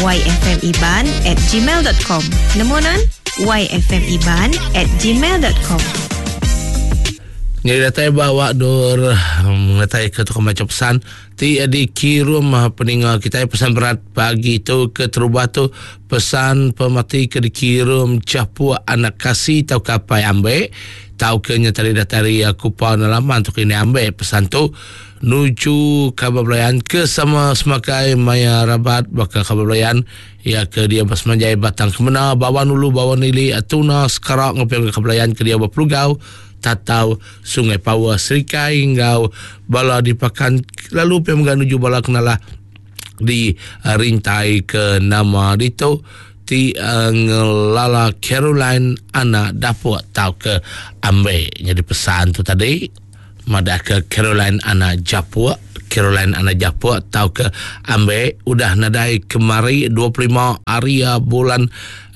Yfmiban at gmail dot com. Nemu nan? Yfmiban at gmail dot com. Nyadi datai ba awak dur ngetai ke tukang macha pesan ti dikirum peninga kitai pesan berat pagi tu keterubah tu pesan pemati ke dikirum Chapuk anak kasi tauka apai ambe tauka nya tadi datai ari Kupa Nelaman tu kini ambe pesan tu Nuju kaban belayan ke sama semakai maya rabat baka kaban belayan iya ke diau ba Semanjai Batang Kemena, Bawan Ulu, Bawan Ili, Tuna, Sekara enggau pia mega kaban belayan ke diau ba Pelugau, Tatau, Sungai Pawa, Serikai enggau bala di Pakan lalu pia mega nuju bala kenalah di rintai ke nama ditu ti ngelala Caroline Anak Dapuk tauka Ambe. Nyadi pesan tu tadi. Madahka Caroline Anak Japuk, Caroline Anak Japuk tauka Ambe udah nadai kemari 25 hari bulan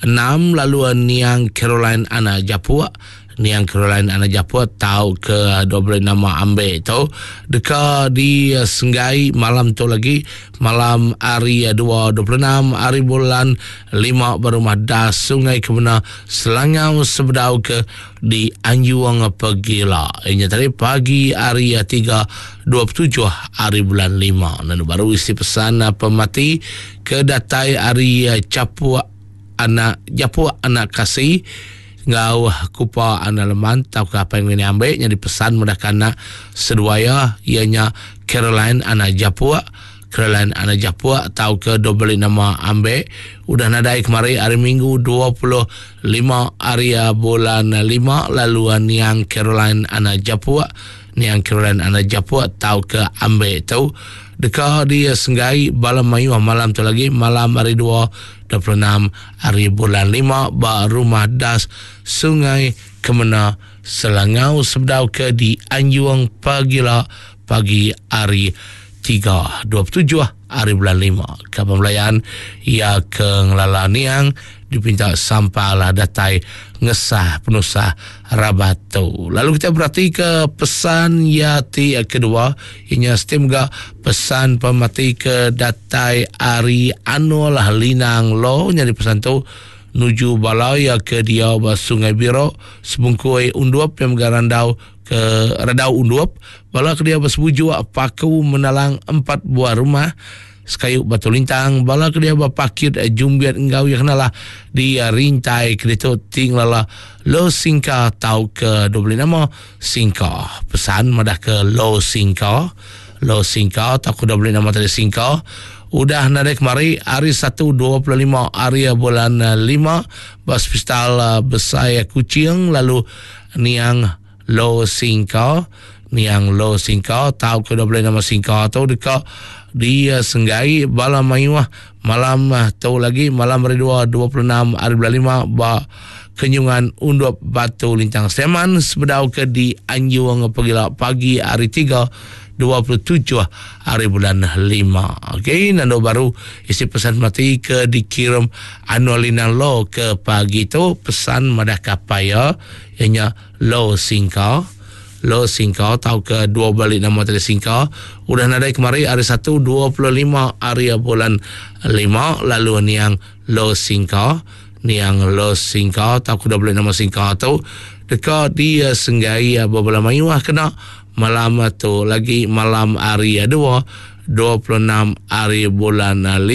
enam lalu niang Caroline Anak Japuk Niang Caroline Anak Japuk tauka dua beri nama Ambe tu deka disenggai malam tu lagi malam hari 2 26 hari bulan lima ba Rumah Das Sungai Kemena Selangau sebedau ke di Anjung Pegila. Inya tadi pagi hari 3 27 hari bulan 5. Lalu baru isi pesan pemati ke datai hari Chapuk anak Japuk anak Kasi enggau Kupa anak Leman tauka apa yang ini ambil nyadi pesan mudah anak seduaya ianya Caroline anak Japuk Caroline anak Japuk tauka dok beli nama Ambe udah nadai kemari hari Minggu 25 hari bulan 5 lalu niang Caroline anak Japuk niang Caroline anak Japuk tauka Ambe tu deka disenggai bala mayuh malam tu lagi malam hari 2 26 hari bulan 5 ba Rumah Das Sungai Kemena Selangau sebedau ke di Anjung pagila pagi hari 3 27 hari bulan 5. Kaban belayan iya ke ngelala niang dipinta sampal datai ngesah penusah rabat tu. Lalu kita berati ke pesan iya ti kedua inya seti mega pesan pemati ke datai ari Anul Linang Lo nyadi pesan tu nuju bala iya ke diau ba Sungai Biro Sebungkui Undup yang mega randau ke Redau Undup, bala ke diau besebujuk Paku Menalang empat buah rumah sekayu Batu Lintang, bala ke diau ba Pakit Jumbit enggau iya kenalah di Rintai ke ditu ti ngelala Lo Singka tauka dua beli nama Singka. Pesan madah ke Lo Singka, Lo Singka tauka dua beli nama tadi Singka udah nadai kemari hari Satu 25 hari bulan 5 ba Hospital Besai Kuching lalu Niang Lo Singka Niang Lo Singka tauka dau bulih nama Singka tu deka disenggai bala mayuh malam tu lagi malam hari dua 26 hari bulan lima ba Kenyungan Undup Batu Lintang Seman sebedau ke dianjung pegila pagi hari tiga 27 hari bulan lima. Okey, nando baru isi pesan mati ke dikirim Anwar Linang Lo ke pagi tu pesan madah kapai ya ianya Lo Singka. Lo Singka tau ke dua balik nama tadi Singka udah nadai kemari hari 1 25 hari bulan 5 lalu niang Lo Singka. Niang Lo Singka tau ke dua balik nama Singka tu deka disenggai bebala mayuh kena malam tu lagi malam hari 2 26 hari bulan 5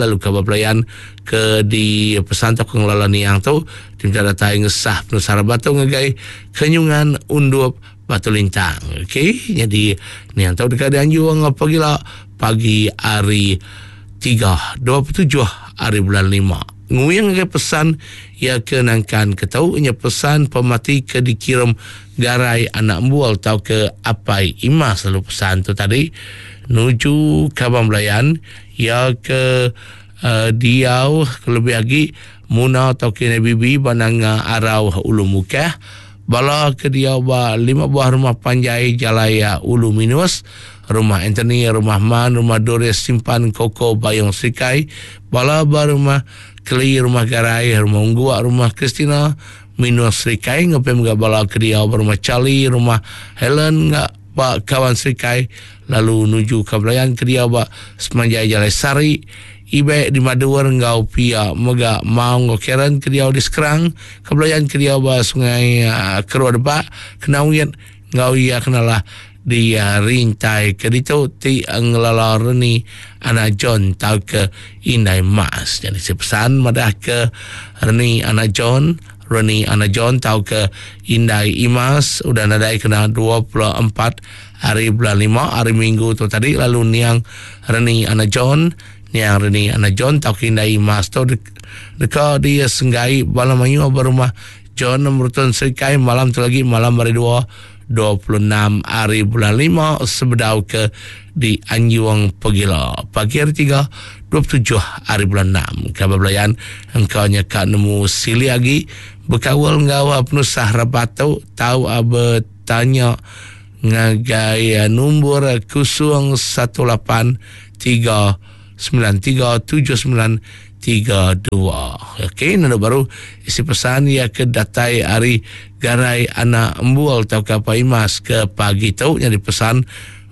lalu kabar pelayan ke di pesan tau ke ngelala niang tu diminta datai ngesah penusah rabat tu ngagai Kenyungan Undup Batu Lintang. Okey, jadi niang tu deka dianjung pagila pagi hari 3 27 hari bulan 5. Nguing ngagai pesan iya ke nangkan ke tau nya pesan pemati ke dikirim Garai anak Embual tauka Apai Imas lalu pesan tu tadi nuju kaban belayan iya ke uh, diau kelebih agi Muna tauka Indai Bibi ba Nanga Arau Ulu Mukah bala ke diau ba lima buah rumah panjai Jalai Ulu Minus, Rumah Anthony, Rumah Man, Rumah Doris Simpan Koko Bayong Serikai, bala ba Rumah Keli, Rumah Garai, Rumah Ungguk, Rumah Christina, Minus Serikai enggau pia mega bala ke diau ba Rumah Charlie, Rumah Helen enggau ba Kawan Serikai lalu nuju ka belayan ke diau ba semanjai Jalai Sari. Ibek di Madur enggau pia mega Maong enggau Karen ke diau di Skrang, ke belayan ke diau ba Sungai Keruh Debak, Kenawit enggau iya kenalah di rintai ke ditu ti ngelala Reni anak John tauka Indai Mas. Nyadi si pesan madah ke Reni anak John, Reni anak John tauka Indai Imas udah nadai kena 24 hari bulan lima hari minggu tu tadi lalu niang Reni anak John, niang Reni anak John tauka Indai Imas tu deka disenggai bala mayuh ba rumah John Merutun Serikai malam tu lagi malam hari dua 26 hari bulan lima sebedau ke di Anjung Pegila pagi hari tiga 27 hari bulan enam. Kaban belayan engka nya ka nemu sili agi bekaul enggau penusah rabat tu tau betanya ngagai nombor 018 3 93 79 32. Okey, nanda baru isi pesan ia ke datai ari Garai Anak Embual tauka Pak Imas ke pagi tu nyadi pesan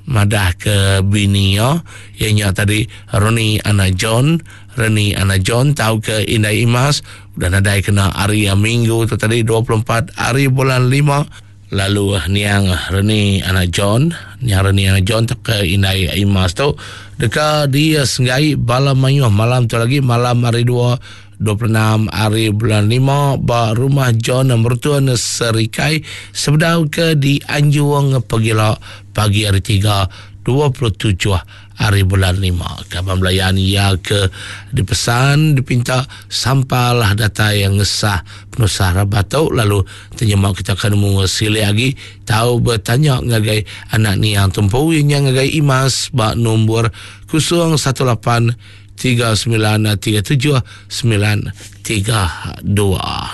madah ke bini iya, iya nya tadi Roni Anak John, Reni Anak John tauka Indai Imas udah nadai kena hari Minggu tu tadi 24 hari bulan 5. Lalu niang Reni anak John, niang Reni anak John tauka indai Imas tu deka disenggai bala mayuh malam tu lagi malam hari dua 26 hari bulan 5 ba rumah John Mertun Serikai sebedau ke dianjung pegila pagi hari 3 27 Hari bulan lima. Kaban belayan iya ke dipesan dipinta sampalah datai ngesah penusah rabat tu lalu tenyema kita ke nemu silik agi tau betanya ngagai anak niang tu empu iya nya ngagai Imas ba nombor 01 8 39 37 9 32.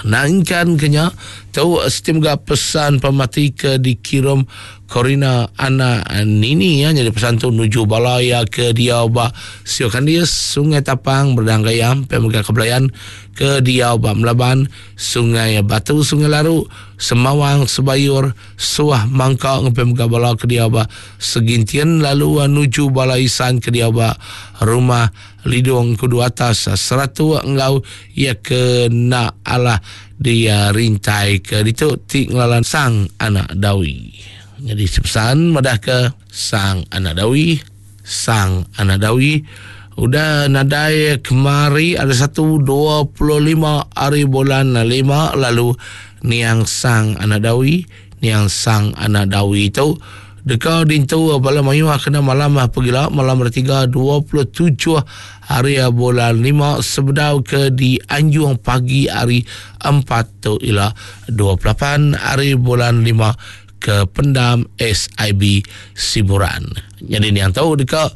Nangkan ke nya tu siti mega pesan pemati ke dikirum Corina anak Nini ya nyadi pesan tu nuju bala iya ke diau ba Sio Kandis, Sungai Tapang, Berdang Gayam, pia mega ke Belayan ke diau ba Melaban, Sungai Batu, Sungai Laru, Semawang, Sebayur, Suah Mangka enggau pia mega bala ke diau ba Segintin lalu nuju bala Isan ke diau ba Rumah Lidung Kudu Atas Seratuk enggau iya ke enda alah dirintai ke ditu ti ngelalan Sang Anak Dawi. Nyadi sepesan madahka Sang Anak Dawi, Sang Anak Dawi udah nadai kemari ada satu 25 hari bulan 5 lalu niang Sang Anak Dawi, niang Sang Anak Dawi tu Deka dintu bala mayuh kena malam pegila malam hari tiga 27 hari bulan 5 sebedau ke dianjung pagi hari 4 tu ila 28 hari bulan 5 ke pendam SIB Siburan. Nyadi niang tu deka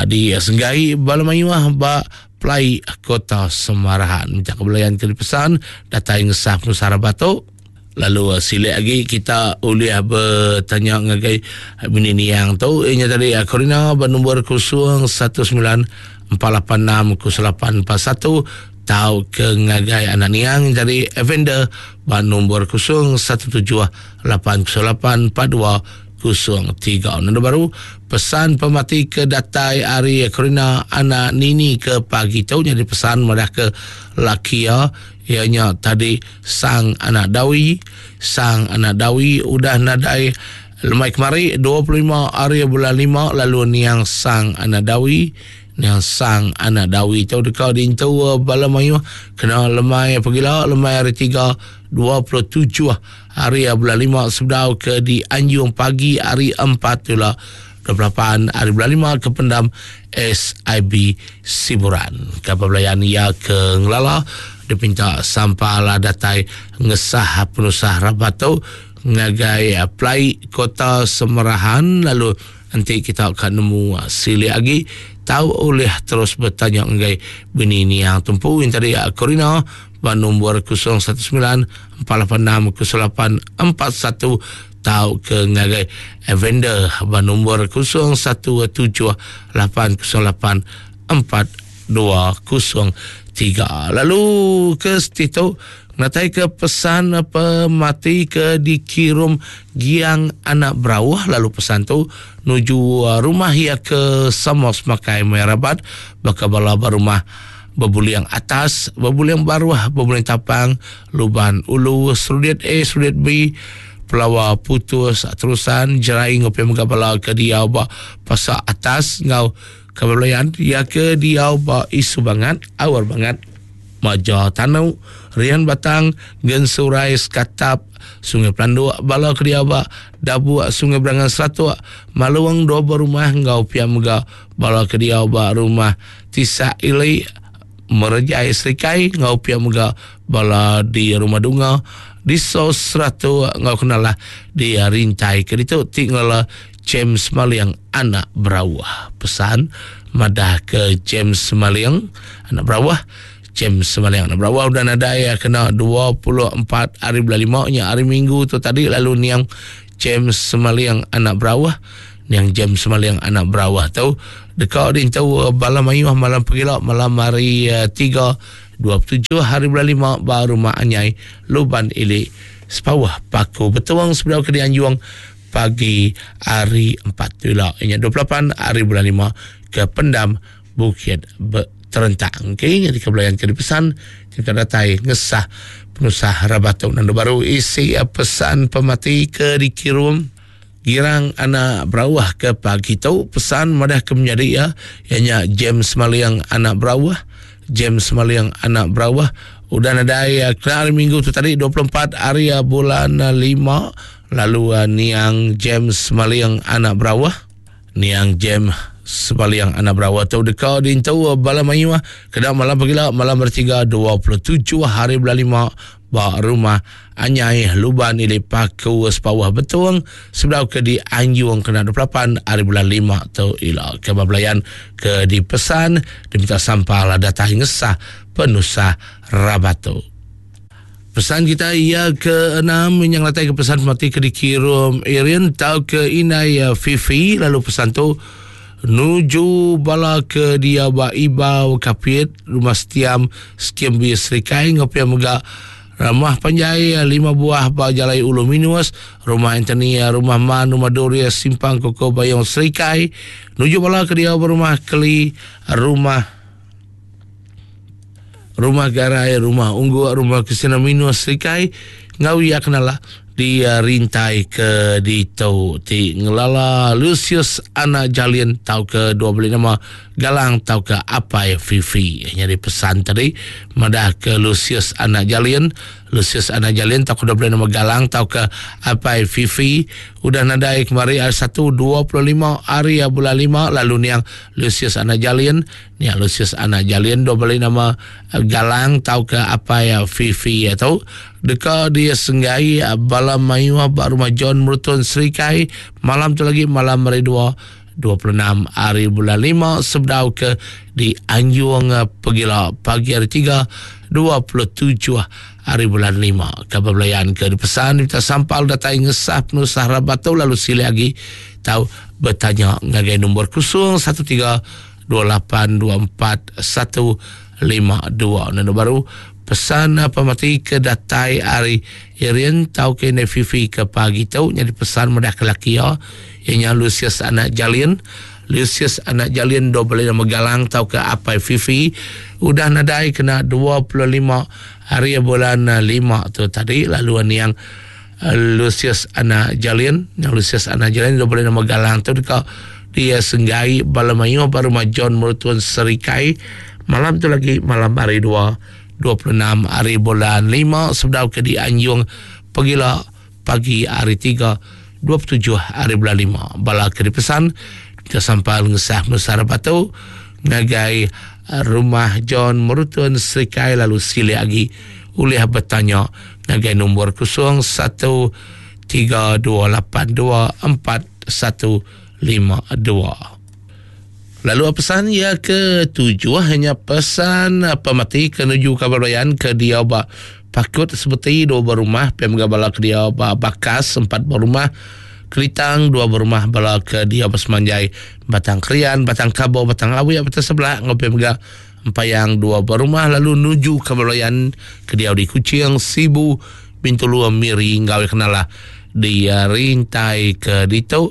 disenggai bala mayuh ba Pelai Kota Semarahan. Minta kebelayan ke dipesan datai ngesah penusah rabat tu. Lalu silik agi kita ulih betanya ngagai bini niang tu inya tadi Corina ba nombor 019 486 0841 tau ke ngagai anak niang tadi Evander ba nombor 017 808 4203. Nombor baru pesan pemati ke datai ari Corina anak Nini ke pagi tu nyadi pesan madah ke laki iya Iya nya tadi Sang Anak Dawi. Sang Anak Dawi udah nadai lemai kemari 25 hari bulan 5 lalu niang Sang Anak Dawi. Niang Sang Anak Dawi tu deka diintu bala mayuh kena lemai pegila lemai hari 3 27 hari bulan 5 sebedau ke dianjung pagi hari 4 tu lah 28 hari bulan 5 ke pendam SIB Siburan. Kapal belayan iya ke ngelala dipinta sampal datai ngesah penusah rabat tu ngagai Pelai Kota Semerahan lalu enti kita ka nemu silik agi tau ulih terus betanya ngagai bini niang tumpu yang tadi Corina ba nombor 019 486 08 41 tauka ngagai Evander ba nombor 017 808 4203. Lalu ke setitu Ngenatai ke pesan pemati ke dikirum Giang Anak Berauh lalu pesan tu nuju rumah iya ke sama semakai maya rabat baka bala ba rumah Bebuling Atas, Bebuling Baruh, Bebuling Tapang, Luban Ulu, Serudit A, Serudit B, Pelawa Putus, Terusan, Jerai enggau pia mega bala ke diau ba Pasar Atas enggau ke belayan iya ke diau ba Isu Bangat, Awar Bangat. Maja Tanu, Rian Batang, Gensurai, Sekatap, Sungai Pelanduk, bala ke diau ba Dabuk, Sungai Berangan Seratuk, Malung, dua buah rumah enggau pia mega bala ke diau ba Rumah Tisak Ili, Merejai Serikai enggau pia mega bala di Rumah Dunga, di So Seratuk enggau kenalah di Rintai ke ditu ti ngelala James Maling anak Berauh. Pesan madah ke James Maling anak Berauh. James Maling anak Berauh udah nadai kena 24 hari bulan 5 nya hari Minggu tu tadi lalu niang James Maling anak Berauh. Niang James Maling anak Berauh tu deka dintu bala mayuh malam pegila malam hari 3 27 hari bulan 5 ba rumah Anyai Luban Ili Sepauh Paku Betong sebedau ke dianjung pagi hari 4 tu ila inya 28 hari bulan 5 ke pendam Bukit Terentang. Okey, jadi ke belayan ke dipesan kita datai ngesah penusah rabat tu nandu baru isi pesan pemati ke dikirum Girang anak Berauh ke pagi tu pesan madah ke menyadi iya iya nya James Maling anak Berauh James Maling anak Berauh udah nadai kena hari Minggu tu tadi 24 hari bulan 5 Lalu niang James Maling anak Berawah. Niang James Maling anak Berawah tu deka diintu bala mayuh kena malam pagila malam hari tiga 27 hari bulan lima ba rumah Anyai Luban Ili Paku Sepawah Betong sebedau ke dianjung kena 28 hari bulan lima tu ila. Ke ba belayan ke dipesan diminta sampal datai ngesah penusah rabat tu. Pesan kita iya ke enam yang latai ke pesan mati ke dikirum Irin tau ke inai eh, Fifi lalu pesan tu nuju bala ke dia ba Ibau Kapit rumah Setiam Skim B Serikai ngau pia mega Rumah panjai eh, lima buah ba Jalai Ulu Minus, Rumah Anthony, eh, Rumah Man, Rumah Doria, Simpang Koko Bayong Serikai, nuju bala ke dia ba Rumah Keli, Rumah Rumah Garai, Rumah Ungguk, Rumah Kesina Minus Serikai enggau iya kenala di eh, rintai ke ditu ti ngelala Lucius anak Jalin tauka dua beli nama Galang tauka Apai Fifi. Nyadi pesan tadi madah ke Lucius anak Jalin, Lucius anak Jalin tauka dua beli nama Galang tauka Apai Fifi udah nadai kemari hari Satu 25 hari bulan 5 lalu niang Lucius anak Jalin Nya Lucius anak Jalin dua bali nama Galang tauka apai Fifi iya tu deka disenggai bala mayuh ba Rumah John Merutun Serikai malam tu lagi malam hari dua 26 hari bulan 5 sebedau ke dianjung pegila pagi hari 3 27 hari bulan 5. Kabar belayan ke dipesan diminta sampal datai ngesah penusah rabat tu lalu silih agi tau betanya ngagai nombor 013 2824152. Nenu baru pesan pemati ke datai ari Irin tau ke indai Fifi ke pagi tu nyadi pesan madah ke laki iya iya nya Lucius anak Jalin. Lucius anak Jalin dua beli nama Galang tau ke apai Fifi udah nadai kena 25 hari bulan 5 tu tadi lalu niang Lucius anak Jalin, Lucius anak Jalin dua beli nama Galang tu deka dia senggai bala mayuh ba rumah John Merutun Serikai malam tu lagi malam hari 2 26 hari bulan 5 sebedau ke dianjung pegila pagi hari 3 27 hari bulan 5 bala ke dipesan ke sampal ngesah mesar batu ngagai rumah John Merutun Serikai lalu silih agi ulih betanya ngagai nombor 0132824152. Lalu pesan ia ke tujuh hanya pesan pemati ke nuju kabar bayan ke dia ba pakut seperti dua berumah pem bala ke dia ba bakas empat berumah Kelitang dua berumah bala ke dia ba semanjai Batang Krian, Batang Kabo, Batang Awi, Batang Sebelah ngopi mega. Empayang dua buah rumah lalu nuju ke Belayan ke diau di Kuching, Sibu, Bintulu, Miri enggau iya kenalah di rintai ke ditu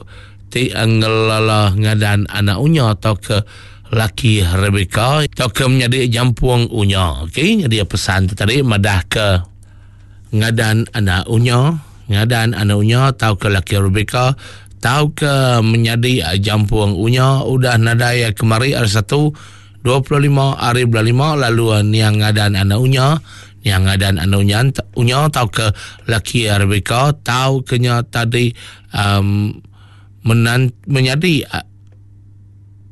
ti ngelala ngadan anak unya tauka laki Rebecca tauka menyadi jampung unya. Okey, nyadi pesan tu tadi madah ke ngadan anak unya, ngadan anak unya tauka laki Rebecca tauka menyadi jampung unya udah nadai kemari hari Satu 25 hari bulan 5 lalu niang ngadan anak unya niang ngadan anak unya unya tauka laki Rebecca tauka nya tadi um, menan, menyadi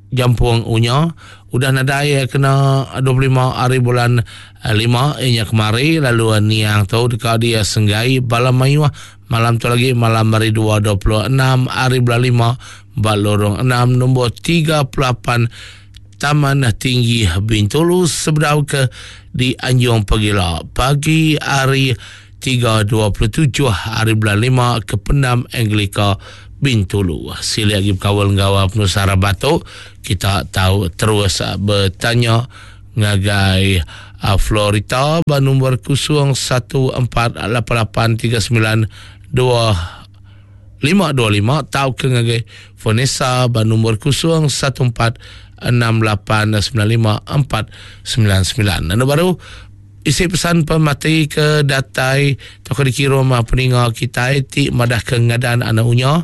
Jampung Unya udah nadai kena 25 hari bulan 5 inya kemari lalu niang tu deka dia senggai bala mayuh malam tu lagi malam hari 2 26 hari bulan 5 ba lorong 6 nombor 38 Taman Tinggi Bintulu sebedau ke di Anjung Pegila pagi hari 3.27 hari bulan 5 ke Pendam Anglika Bintulu. Silik agi bekaul enggau penusah rabat tu, kita tau terus betanya ngagai Florita ba nombor 01488392 525 tauka ngagai Vanessa ba nombor 0146895499. Anu baru isi pesan pemati ke datai tauka dikirum peninga kitai ti madah ke ngadan anak unya,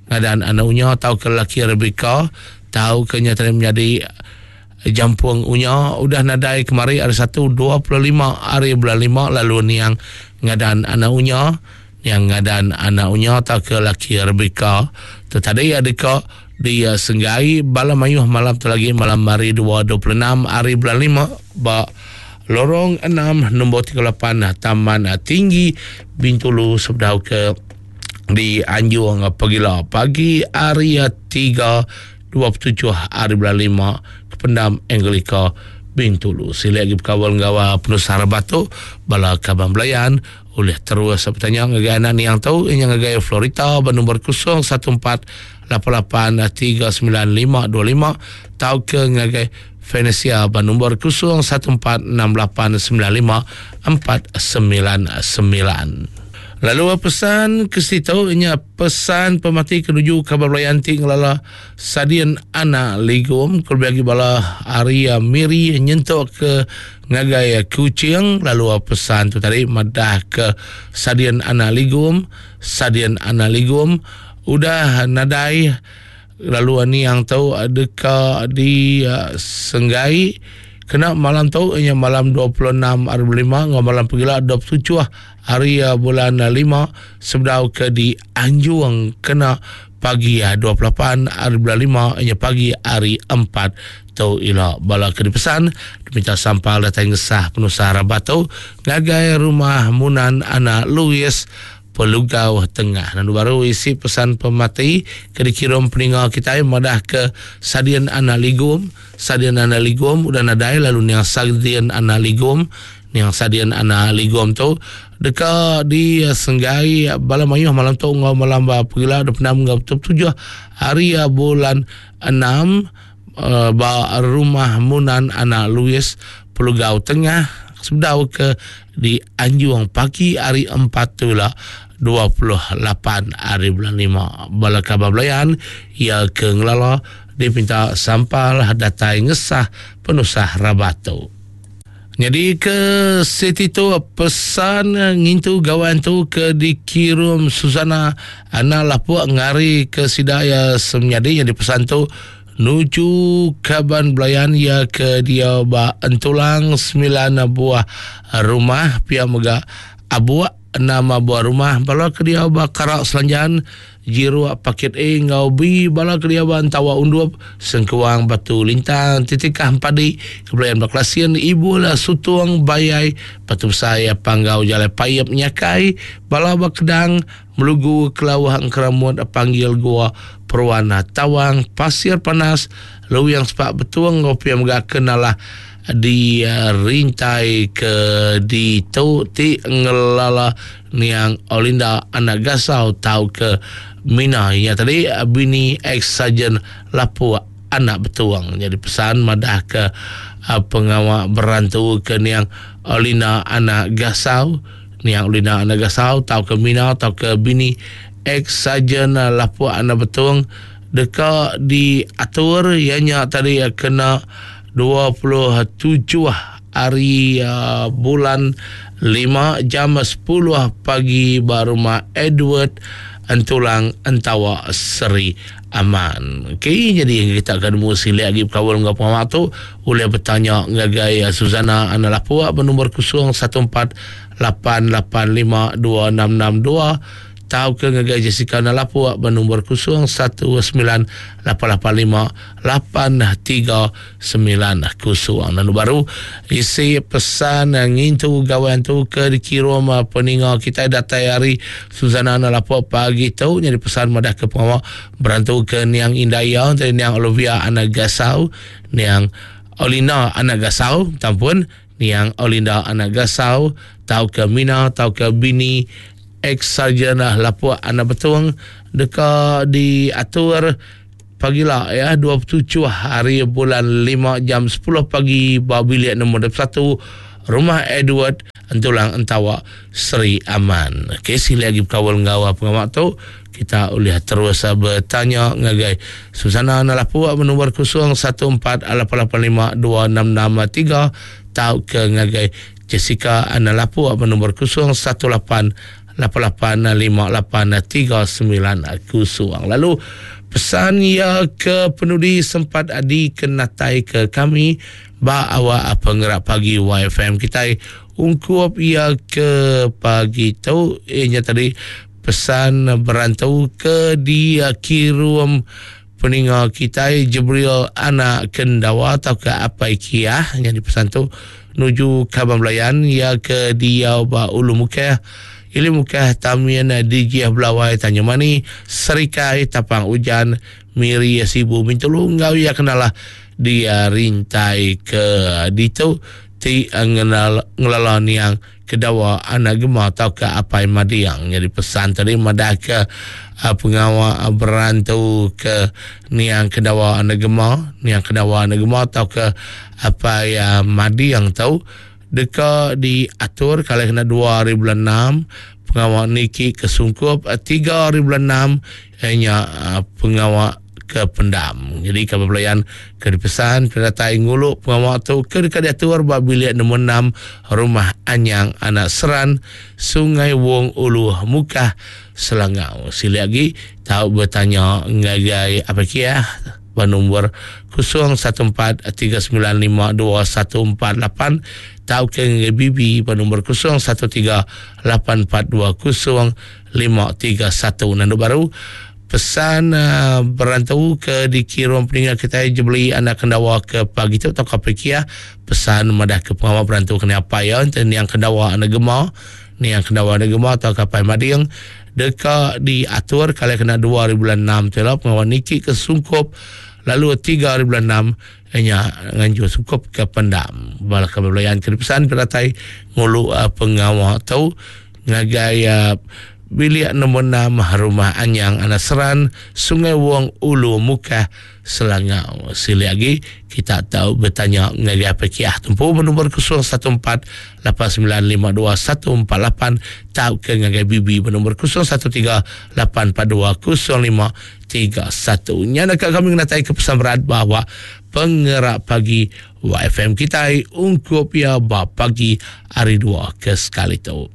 ngadan anak unya tauka lelaki Rebecca tauka nya tadi menyadi Jampung unya udah nadai kemari hari Satu 25 hari bulan 5 lalu niang ngadan anak unya niang ngadan anak unya tauka laki Rebecca tu tadi deka di senggai bala mayuh malam tu lagi malam hari 2 26 hari bulan 5 ba Lorong 6 nombor 38 Taman Tinggi Bintulu sebedau ke di Anjung Pegila pagi hari 3 27 hari bulan 5 ke Pendam Anglika Bintulu. Silik agi bekaul enggau penusah rabat tu bala kaban belayan ulih terus betanya ngagai anak niang tu inya ngagai Florita ba nombor 014 88 39 525 tauka ngagai Venesia ba nombor 014 68 95 499. Lalu pesan ke situ inya pesan pemati ke nuju kaban belayan ti ngelala Sadin anak Ligum ke lebih agi bala ari Miri nyentuk ke ngagai Kuching lalu pesan tu tadi madah ke Sadin anak Ligum Sadin anak Ligum udah nadai lalu niang tu deka di senggai kena malam tu inya malam 26 hari bulan 5 enggau malam pegila 27 hari bulan 5 sebedau ke di Anjung kena pagi 28 hari bulan 5 inya pagi hari 4 tu ila bala ke dipesan diminta sampal datai ngesah penusah rabat tu ngagai rumah Munan anak Louis Pelugau Tengah. Lalu baru isi pesan pemati ke dikirum peninga kitai madah ke Sadin anak Ligum, Sadin anak Ligum udah nadai lalu niang Sadin anak Ligum, niang Sadin anak Ligum tu deka disenggai bala mayuh malam tu enggau malam ba pegila 26 enggau 27 hari bulan 6 ba rumah Munan anak Louis Pelugau Tengah sebedau ke di Anjung pagi hari empat tu ila 28 hari bulan 5. Bala kaban belayan iya ke ngelala dipinta sampal datai ngesah penusah rabat tu. Nyadi ke siti tu pesan ngintu gawan tu ke dikirum Susana anak lapuk ngari ke sida iya semenyadi nyadi pesan tu Nuju kaban belayan iya ke diau ba Entulang semilan buah rumah pia mega Abuk enam buah rumah bala ke diau ba Karak Selanjan, Jiruk Pakit A enggau B bala ke diau ba Entawa Undup, Sengkuang Batu Lintang, Titikah Empadi, Kebelayan ba Kelasin, Ibul Sutung Bayai, Batu Besai Panggau Jalai Paip Nyakai, bala ba Kedang, Melugu Kelauh Engkeramut Panggil Gua Peruan Tawang Pasir Panas Luwing Sepak Betung enggau pia mega ke nalah di rintai ke ditu ti ngelala niang Olinda anak Gasau tauka Mina iya tadi bini ex-sarjan Lapuk anak Betung. Nyadi pesan madah ke. Pengawa berantu ke niang Olina anak Gasau, niang Olina anak Gasau tauka Mina tauka bini ex-Sarjan Lapuk anak Betong deka diatur iya nya tadi kena 27 hari bulan lima jam 10 pagi ba rumah Edward Entulang Entawa Seri Aman. Okey, jadi kita akan nemu silik agi bekaul enggau pengawa tu ulih betanya ngagai Suzana Anak Lapuk benombor 014 885 2662 tauka ngagai Jessica Anak Lapuk benombor 019 885 8390. Lalu baru isi pesan ngintu gawai antu ke dikirum peninga kitai datai ari Suzana Anak Lapuk pagi tu nyadi pesan madah ke pengawa berantu ke niang indai iya enti niang Olivia Anak Gasau, niang Olina Anak Gasau, tampun niang Olinda Anak Gasau tauka Mina tauka bini ex-sarjan Lapuk Anak Betong deka diatur pagila ya 27 hari bulan 5 jam 10 pagi ba bilik nombor 21 Rumah Edward Entulang Entawa Seri Aman. Okey, sila lagi berkaul enggau pengawa tu kita ulih terus bertanya ngagai Susana Nalapu nombor 014 885 2663 tauka ngagai Jessica Nalapu nombor 018 885839 0. Lalu pesan ia ke penudi sempat dikenatai ke kami ba awak pengerak pagi YFM kitai ungkup ia ke pagi tu ianya tadi pesan berantu ke dikirum peninga kitai Jibril anak Kendawa tauka Apai Kiah nyadi pesan tu nuju kaban belayan ia ke diau ba Ulu Mukah Ili Mukah Tamin Dijih Belawai Tanjung Mani Serikai Tapang Ujan Miri Sibu Bintulu enggau ia kenalah dia rintai ke ditu ti ngenal ngelala niang Kedawa anak Gema tauka Apai Madiang. Nyadi pesan tadi madahka pengawa berantu ke niang Kedawa anak Gema, niang Kedawa anak Gema tauka Apai Madiang tu deka diatur kala kena 2 hari bulan 6 pengawa niki ke sungkup 3 hari bulan 6 iya nya pengawa ke pendam. Nyadi kaban belayan ke dipesan penatai ngulu pengawa tu ke deka diatur ba bilik nombor 6 Rumah Anyang Anak Seran, Sungai Wong Ulu Mukah, Selangau. Silik agi tau betanya ngagai Apai Kiah ba nombor 014 395 2148 tauka ngagai Bibi ba nombor 013 842 0531. Nandu baru Pesan berantu ke dikirum peninga kitai jebeli anak kendawa ke pagi tu tauka pekiah pesan madah ke pengawa berantu kena apai iya enti niang kendawa anak gema niang kendawa anak gema tauka apai mading deka diatur kala kena 2 hari bulan 6 tu ila pengawa niki ke sungkup lalu 3 hari bulan 6 nya nganjur sungkup ke pendam bala ke belayan ke dipesan penatai ngulu pengawa tu ngagai bilik nombor 6 Rumah Anyang Anak Seran, Sungai Wong Ulu Mukah, Selangau. Silik agi kita tau betanya ngagai PKH tumpu benombor 014 8952 148 tauka ngagai BB benombor 013 842 0531. Nya naka kami ngenatai ke pesan berat bahawa pengerak pagi YFM kitai ungkup iya ba pagi hari dua ke sekali tu.